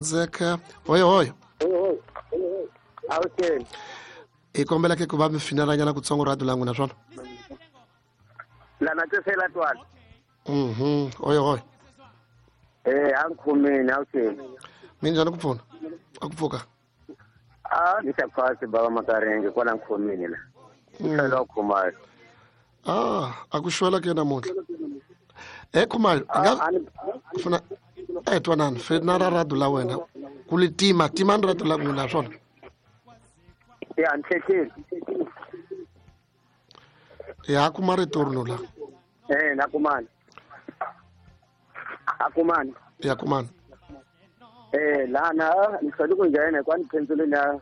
Zeka hoyo hoyo. Avuxeni. Hi kombela ke ku va mi finelanyana kutsongo radio la n'wina swona. Lana tisela twala. Hoyo hoyo. A nkhumini avuxeni. Minjhani ku pfuna? A ku pfuka. A ni xa phasi baba Makaringe kwala nkhumini la. Hlelo Khumalo. A ku xwela ke namuntlha. Khumalo, nga funa twanani fena ra radio la wena ku li tima timani radio la n'wina swona. Ya ntlhetlheli. Ya kuma returno la. Na kumani. A kumani. Ya kumani. Lana ni hlwele ku nghena kwani pencil na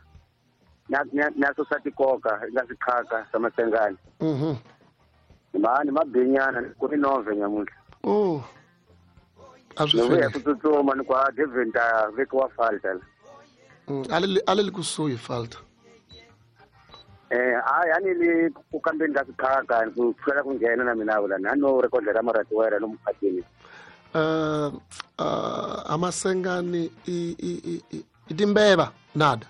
na society koka la swiqhaka swa Masengane. Mani mabinyana ku ri nove nyamuntlha. Oh. A swi vuya ku tsutsuma ni kwa Deventer vekiwa falta. Ale li kusuhi falta. A yani li ku kambeni ka swiqhaka ku hlwela ku nghena na mina vula na no rekodela maratiwera no muphatini. Amasengani i timbeva nada.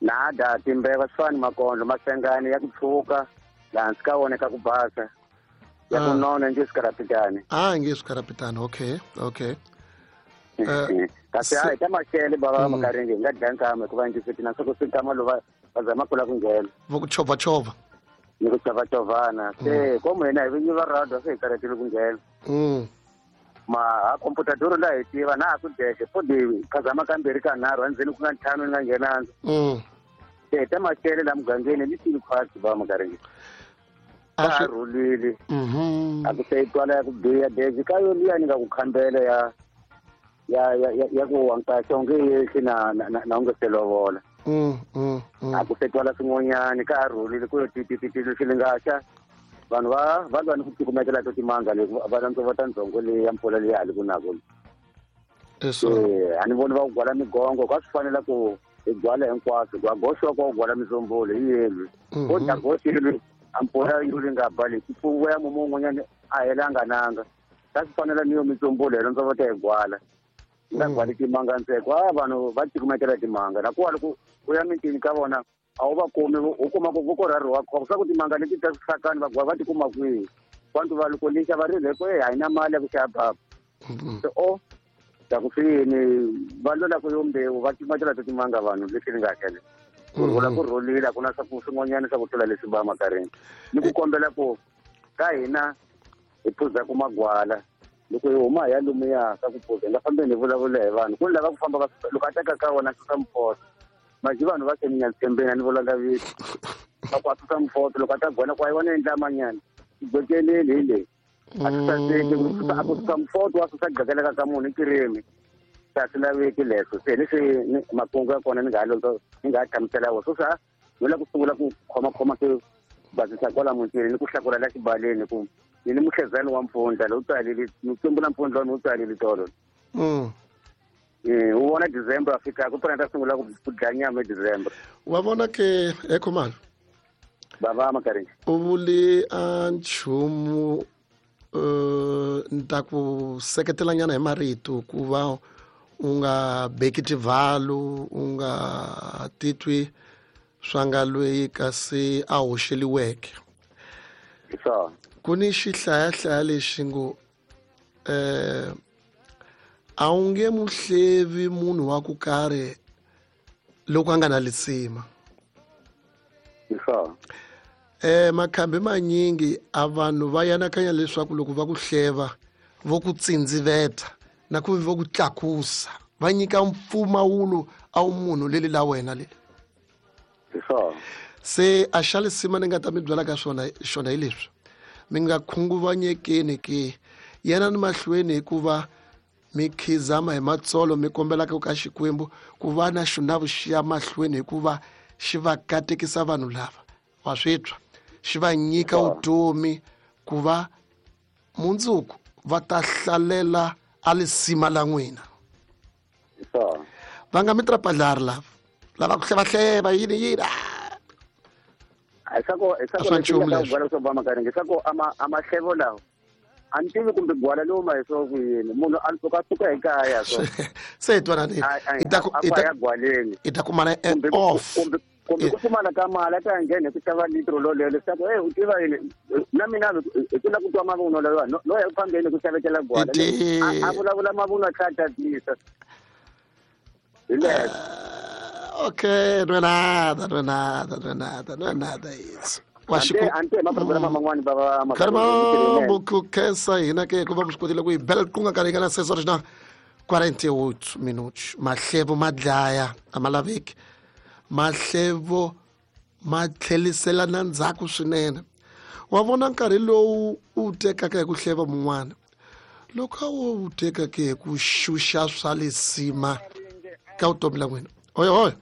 Nada timbeva swani makondlo Masengani ya ku tshuka la hansi ka wona ka ku basa. Ya ku nona nje swikarapitani. Nge swikarapitani. Okay, okay. Kasi hayi ta maxele baba Makaringe nga dlaya nkama hikuva ndzi swi na swa ku swi nkama lowu va zama ku la ku nghena. Vo ku chovachova. Ni ku chovachovana. Se komu hina hi vinyi va radio se hi karhatile ku nghena. Ma computador la hi tiva na ku deke fo di phazama kambirhi ka nharhu endzeni ku nga ntlhanu ni nga nghenanga. Se ta maxele la mugangeni ni tini khwatsi baba Makaringe. A rhulile. A ku se twala ya ku biha dezi ka yo liya ni nga ku khambela ya ya ya ya ku wankaxa onge yehli na na unge se lovola. A ku se twala swin'wanyani ka ha rhulile ku yo titititi swi lingaxa vanhu va lwa ni ku cukumekela to timanga leyi va landzovota ndzhongo leyi ya mpfula leyi hali ku nako. A ni voni va ku gwala migongo ka swi fanela ku hi gwala hinkwaswo gwa goxiwa kwa ku gwala mizombulo hi yelwi. Ko dya goxilwi a mpfula yo li nga ba leyi ku ya mumu un'wanyani a helanga nanga. Ka swi fanela ni yo mizombulo hi landzovota hi gwala. Nga gwali timanga ntseko a vanhu va cukumekela timanga na kuwa loko u ya mitini ka vona a wu va kumi u kuma ku voko ra riwa khombo swa ku timanga leti ta swihlakani va gwa va ti kuma kwihi vantu va loko lixa va rile ku a hi na mali ya ku xava baba. Se o ta ku swi yini va lwela ku yo mbewu va cukumekela to timanga vanhu leswi ni nga hakela. Ku rhula ku rhulile a ku na swa ku swin'wanyana swa ku tlula leswi ba Makaringe. Ni ku kombela ku ka hina hi phuza ku magwala loko hi huma hi ya lomuya ka ku phuza hi nga fambeni hi vulavula hi vanhu ku ni lava ku famba va loko a teka ka wona susa miphoto maji vanhu va seninya tshembeni a ni vulanga vito va ku a susa miphoto loko a ta gona ku a yi vona endlamanyana gwekeleli hi leyi a susaseki a ku susa miphoto wa susa gakeleka ka munhu i kirimi a swi laveki leswo se leswi makungu ya kona ni nga ni nga hlamusela wo sweswi ni la ku sungula ku khomakhoma ku basisa kwala mutini ni ku hlakula la xibaleni ku ni ni muhlezani wa mpfundla lowu tswalile ni tsumbula mpfundla wa ni wu tswalile tolo. U vona December a fika ku pfuna ta sungula ku dlaya nyama hi December. Wa vona ke Khumalo. Baba Makaringe. U vule a nchumu ni ta ku seketelanyana hi marito ku va u nga beki tivhalu u nga titwi swa nga lweyi kasi a hoxeliweke. Ku ni xihlayahlaya lexi ngo a wu nge muhlevi munhu wa ku karhi loko a nga na lisima. Makhambi manyingi a vanhu va yanakanya leswaku loko va ku hleva vo ku tsindziveta na ku vo ku tlakusa va nyika mpfumawulo a wu munhu leli la wena leli. Se a xa lisima ni nga ta mi byela ka swona xona hi leswi mi nga khunguvanyekeni ke yena ni mahlweni hikuva mi khizama hi matsolo mi kombelaka ka Xikwembu ku va na xona vuxiya mahlweni hikuva xi va katekisa vanhu lava wa swi twa xi va nyika vutomi ku va mundzuku va ta hlalela a lisima la n'wina. Va nga mi trapadlari lava lava ku hlevahleva yini yini. Swa ku a mahlevo lawa A ni tivi kumbe gwala lowu ma hi swo ku yini munhu a suka suka ekaya so se twanani i ta gwaleni i ta kumana off kumbe ku pfumala ka mali a ta nghena hi ku xava litro lolelo leswaku e u tiva yini na mina hi ku la ku twa mavunwa lawa no ya ku fambeni ku xavetela gwala a vulavula mavunwa a tlhela a tatisa hi leswo. Okay, não é nada, não é nada, não é nada, não é nada isso. Ante maprograma man'wani va Caramba, ku khensa hina ke ku va mi swi kotile ku hi bela riqingho nkarhi nga na 6 horas na 48 minutos. Mahlevo ma dlaya, a ma laveki. Mahlevo ma tlhelisela na ndzhaku swinene. Wa vona nkarhi lowu u tekaka hi ku hleva mun'wana loko a wo wu tekaka hi ku xuxa swa lisima ka vutomi la n'wina. Hoyo hoyo.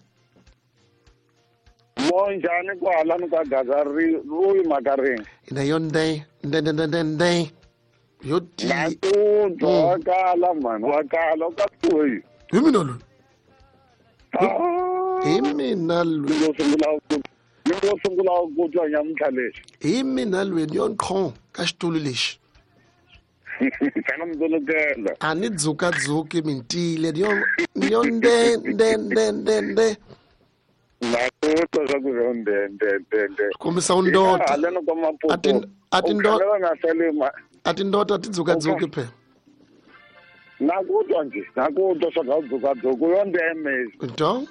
Monjhani kwala ni ka gaza ri ruyi makarini. Ina yo nde nde nde nde nde yo ti na ku twa wa kala mani wa kala u ka kuyi. Hi mina loyi. Hi mina loyi. Ni ngo sungula ku twa nyamuntlha lexi. Hi mina loyi ni yo nqho ka xitulu lexi. Kana mdzolokela. A ni dzukadzuki mintile ni yo nde nde nde nde nde. Na ku twa swa ku yo nde nde nde nde. Kombisa undota. Haleno kwa Maputo. A tindota ti dzukadzuki phela. Na ku twa nje, na ku twa swa ku dzukadzuki yo ndeme. Então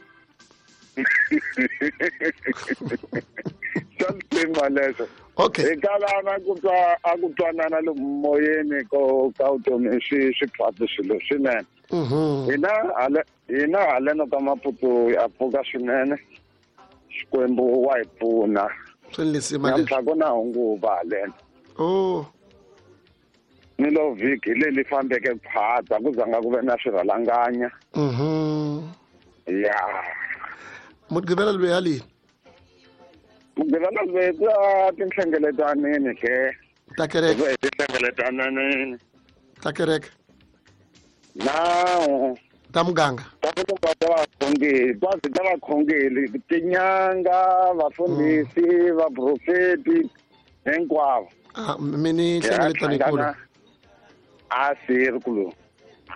Swa leswo. Okay. Hi kalana ku twa a ku twanana le moyeni ko ka vutomi swi swi phati swilo swinene. Hina haleno ka Maputo ya pfuka swinene. Xikwembu wa hi pfuna. Namuntlha ku na hunguva haleno. Oh. Ni lo vhiki leyi fambeke phata ku zanga ku ve na swirhalanganya. Ya. Mugqivela loyi haleni. Mugqivela loyi ku ya tinhlengeletanini ke. Ta kereke. Ku ya tinhlengeletanini. Ta kereke. Nawu. Ta muganga. Ta vakhongeli, ta vakhongeli, tinyanga, vafundhisi, vaprofeti hinkwavo. Mi ni nhlengeletano. A sirikulu.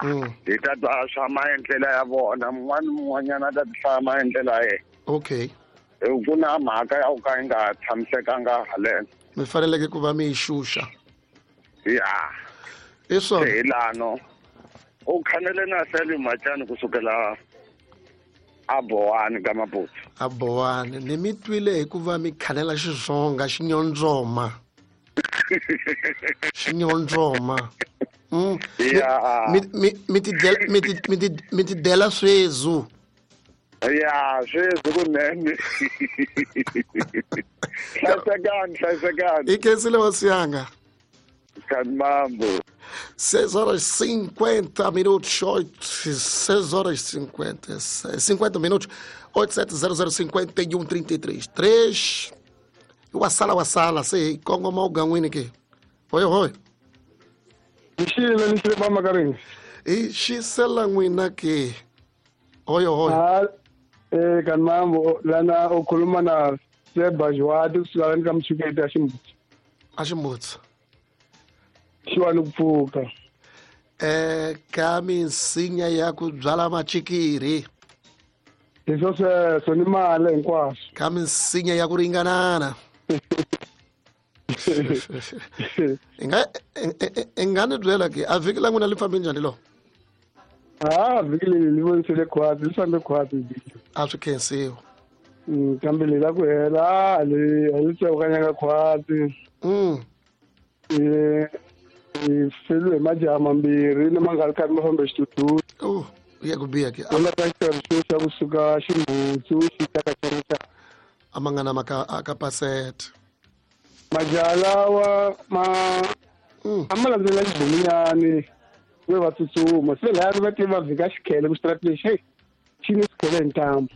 Hi ta twa swa maendlelo ya vona, mun'wana mun'wanyana ta hlaya maendlelo ya yena. Okay. Ku na mhaka ya ku ka yi nga tshamisekanga haleno. Mi faneleke ku va mi yi xuxa. Ya. I swona. Hi lano. U khanele na Sally Machani kusukela a Bowani ka Maputo. A Bowani ni mi twile hikuva mi khanela Xitsonga xinyondzoma. Xinyondzoma. Ya. Mi ti dela sweswi. Ya, sweswi kunene. Hlayisekani, hlayisekani. I khensile hosi yanga. Mambo. 6 horas 50 minutos, 8, 6 horas 50, 50 minutos, 8700 51 33 3. Wasala, sei, Congo mal gan'wini ke. Oi, oi. Nixile, nixile ba makarini. I xisela n'wina ke. Oi, oi. Kan mambo lana u khuluma na Seba Jwadi kusuka ka Mtshuketi a Ximbutsi. A Ximbutsi. Xiwani ku pfuka. Ka minsinya ya ku byala machikiri. Hi swo sweswo ni mali hinkwaswo. Ka minsinya ya ku ringanana. I nga ni byela ke a vhiki la n'wina li fambe njhani lo? Vhiki leri li vonisile khwatsi, li fambe khwatsi vhiki. A swi khensiwa. Kambe leri la ku hela a li tsewukanyanga khwatsi. Hi feliwe hi majaha mambirhi lama nga ri karhi ma fambe xitutu. Oh, ya ku biha ke. Ku nga ta xiterisiwa xa kusuka Ximbutsu xi ta ka Xirisa. A ma nga na maka a ka pasete. Majaha lawa ma a ma landzela xibunyani ve va tsutsuma se laya va te va vhika xikhele ku xitarati lexi hey xi ni xikhele hi ntambu.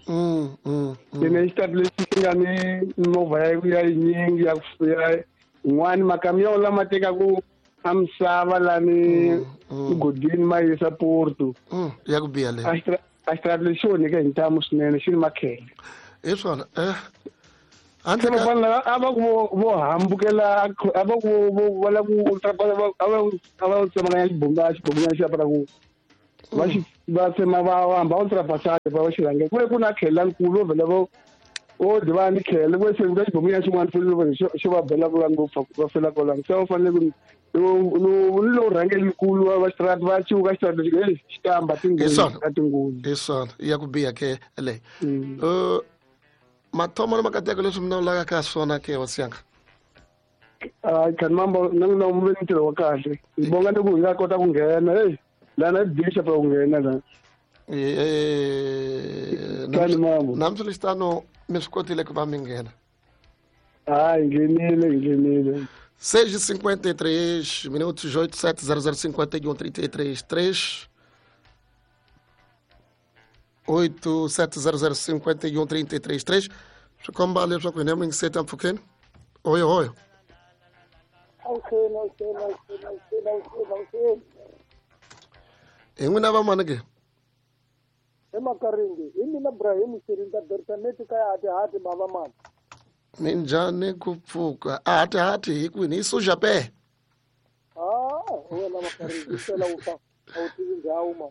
Ene xitarati lexi xi nga ni mimovha ya yinyingi ya yin'wani makamiyo lama tekaku a misava lani mugodini ma yisa Porto. Ya ku biha leyi. A xitarati lexi xi onheke hi ntamu swinene xi ni makhele. Hi swona. Handle ka vafana a va ku vo hambukela a va ku vo va ku a va tsemakanya xibomunyana xi ya ku va xi va tsema va hamba va ultrapassaje va xi rhangela ku ve ku na khela nkulu vo vhela vo o divana ni khele ku se ku xibomunyana xin'wana fele xo va bela ku ngopfu va fela kwalano se va fanele ku ni lowu rhangeli nkulu va xitarata va ciuka xitarata lexi xitamba tinghozi ka tinghozi hi swona ya ku biha ke leyi mathomo na makateko leswi mi lawulaka ka swona ke hosi yanga Khan Mambo na n'wina mi ve ni ntirho wa kahle hi bonga ni ku hi nga kota ku nghena heyi lana bishop ku nghena la Khan Mambo namuswiritano mi swi kotile ku va mi nghena hayi nghenile 6:53 minutos 87 00 51 33 3 87 00 51 33 3 swi komba leswaku hina mi ngiseta mpfhukeni hoyo hoyo hi n'wina vamani ke emakaringi hi mina Ibrahim Shirinda Bertaneti ka hati hati bava mani minjhani ku pfuka a hati hati hi kwini hi suja pe wena makaringi sela u fa a wu tivi ndhawu ma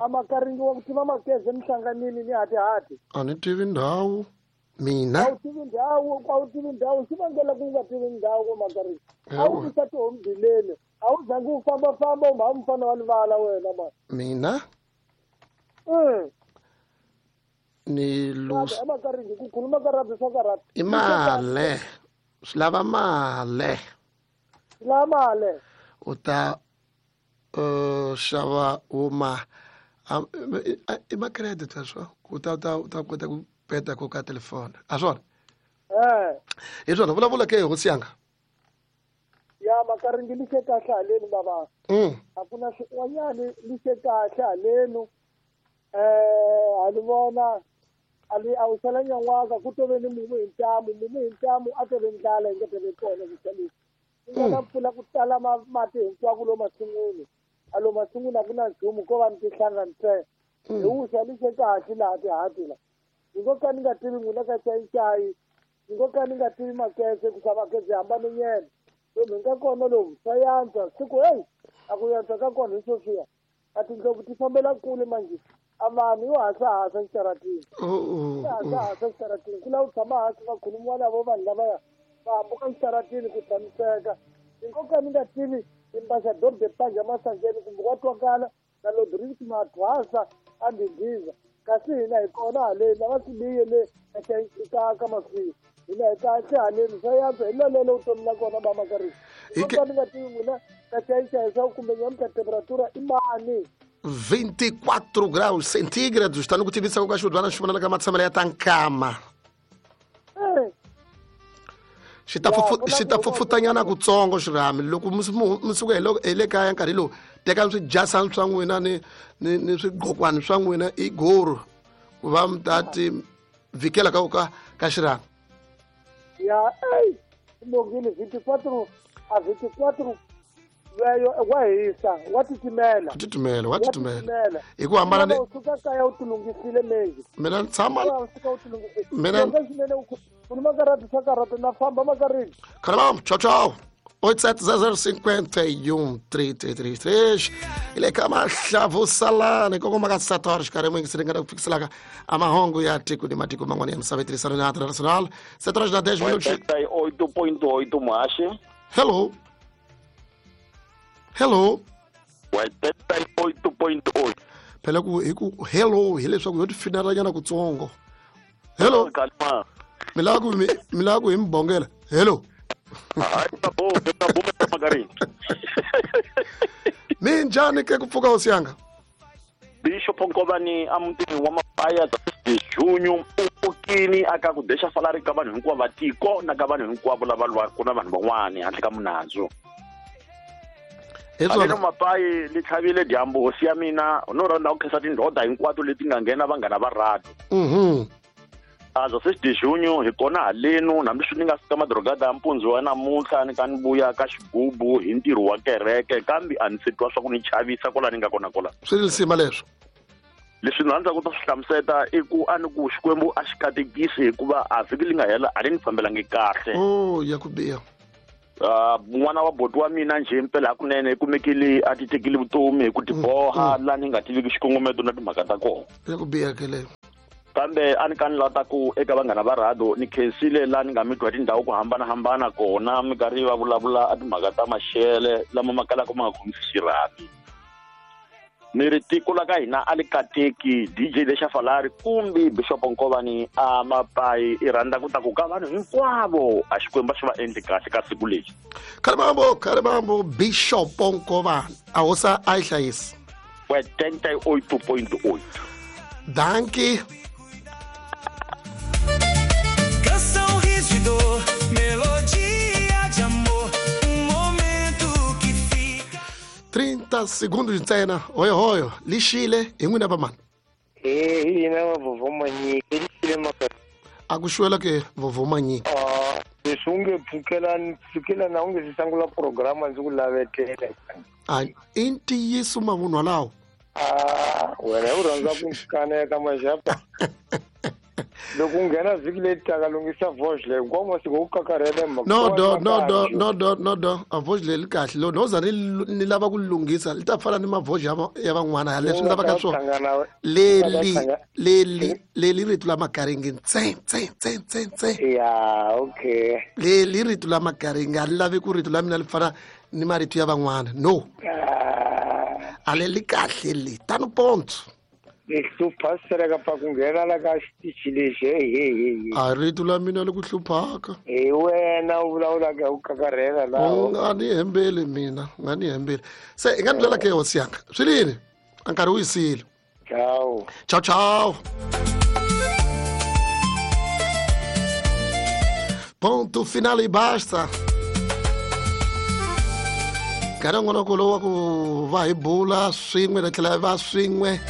a makaringi wa ku tiva makeze mihlanganini ni hati hati a ni tivi ndhawu mina a wu tivi ndhawu a wu tivi ndhawu swi vangela ku nga tivi ndhawu ko makaringi a wu tisa tihombileni a wu zangi u fambafamba u mha mufana wa livala wena ma mina ni lus emakaringi ku khuluma ka rhabi swa karhata i male swi lava male swi lava male u ta xava wuma i ma-credit swo u ta ta kota ku peta ko ka telefoni a swona hi swona vulavula ke hosi yanga ya makaringi li xe kahle haleni bava a ku na swin'wanyani li xe kahle halenu a li vona a li a wu sala nyan'waka ku tove ni mumu hi ntamu a tove ndlala yi nga tove kona vuxaleni ku nga na mpfula ku tala mati hinkwako lo masin'wini a lo masin'wini a ku na nchumu ko va ni tihlanga ntsena hi wuxa li xe kahle laha tihati la ni ngo ka ni nga tivi n'wina ka cayicayi ni ngo ka ni nga tivi makese ku sa makese hambane nyena lomu hi nga kona lomu swa yantswa siku heyi a ku yantswa ka kona hi sweswiya a tindlopfu ti fambela kule manjhe a vanhu yo hasahasa xitaratini hasahasa xitaratini ku lava ku tshama hansi va khulumiwa lavo vanhu lavaya va hambuka xitaratini ku tshamiseka ni ngo ka ni nga tivi ambassador de panja masangeni kumbe wa twakala na lodrix mathwasa a ndhindhiza kasi hina hi kona haleni lava sibiye le ka masiyo hina hi kahle haleni swa yantswa hi lolelo vutomi la kona ba makarini ka ni nga tivi n'wina ka cayicayi swa kumbe nyamuntlha temperatura i mani 24 graus centígrados tá no ku tivisa ku ka xudwana xi vonaka matshamelo ya tankama xi ta fufutanyana kutsongo xirhami loko mi suka hi le kaya nkarhi lowu teka swijasani swa n'wina ni swigqokwani swa n'wina i goro ku va mi ta ti vhikela ka ka xirhami ya ey bongile 24 a 24 leyo wa hisa wa titimela wa titimela hi ku hambana ni suka kaya u tilungisile mengi mina ni tshama mina khuluma karata swa karata na famba makarini Caramba, tchau tchau 8700 51 333 ile ka mahlavusalani kongoma ka 7 horas xikarhi mwingi siringana ku fikiselaka a mahungu ya tiko ni matiko man'wana ya misava yi tirhisana na international 7 horas na 10 minutos 8.8 muhaxi hello hello 88.8 phela ku hi ku hello hileswaku yo tifinelanyana kutsongo hello mi lava ku hi mi bongela hello minjhani ke ku pfuka hosi yanga Bishop Nkovani a mutini wa mapaya junyo u pfukini aka ku dexa salari ka vanhu hinkwavo va tiko na ka vanhu hinkwavo lava lwaka na vanhu van'wani handle ka munandzu aleno mapayi li tlhavile dyambu hosi ya mina no rhandza ku khensa tindhoda hinkwato leti nga nghena vanghana va radio aza sexidejunyo hi kona halenu hambi swi ni nga fika madrogada ya mpundzu wa namuntlha ni ka ni vuya ka xigubu hi ntirho wa kereke kambe a ni se twa swa ku ni chavisa kwala ni nga kona kwala swi ri lisima leswo Leswi ni rhandzaka ku ta swi hlamuseta i ku a ni ku Xikwembu a xi katekisi hikuva a vhiki li nga hela a ri ni fambelangi kahle. Oh, ya ku biha. N'wana wa boti wa mina njhe mpela hakunene i kumekile a ti tekile vutomi hi ku tiboha laha ni nga tiviki xikongometo na timhaka ta kona. Ya ku biha ke leyo. Kambe a ni ka ni lava ku eka vanghana va rhado ni khensile laha ni nga mi twa tindhawu ku hambanahambana kona mi karhi va vulavula a timhaka ta maxele lama ma kalaka ma nga khomisi xirhami. Ni ri tiko la ka hina a li kateki DJ Lexa Falari kumbe Bishop Nkovani a Mapai i rhandza ku ta ku ka vanhu hinkwavo a Xikwembu xi va endli kahle ka siku lexi. Khalimambo Bishop Nkovani a hosa a yi hlayisi. 88.8. Dankie. Canção, riso e dor, melodia de amor, momento que fica. 30 segundos ntsena hoyo hoyo lixile hi n'wina vamani. Hina va Vovó Manyiki lixile maka. A ku xuwela ke Vovó Manyiki. Leswi u nge pfukelana u nge si sungula programa ndzi ku lavetela. A i ntiyiso mavunwa lawo. Wena u rhandza ku kaneta maxapa. Loko u nghena vhiki leyi taka lunghisa voice leyi hinkwawo masiku u kakarhela mhaka. No a voice leyi li kahle loko no za ni lava ku lunghisa li ta fana ni mavoice ya van'wana ya leswi ni lavaka swona. Leli rito la makaringi ntse tse tse tse tse. Ya okay. Leli rito la makaringi a li lavi ku rito la mina li fana ni marito ya van'wana. No. A le li kahle li tano ponto. Hlupha sereka pa ku nghena la ka xitichi lexi he. A rito la mina li ku hluphaka. Hi wena u vulavulaka hi ku kakarhela laha. U nga ni hembeli mina, u nga ni hembeli. Se i nga ni byela ke hosi yanga. Swi lini? A nkarhi wu yisile. Ciao. Ciao ciao. Ponto final e basta. Nkarhi wun'wana lowu wa ku va hi bula swin'we na tlhela va swin'we.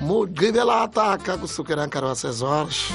Mugqivela ataka kusukela nkarhi wa 6 horas.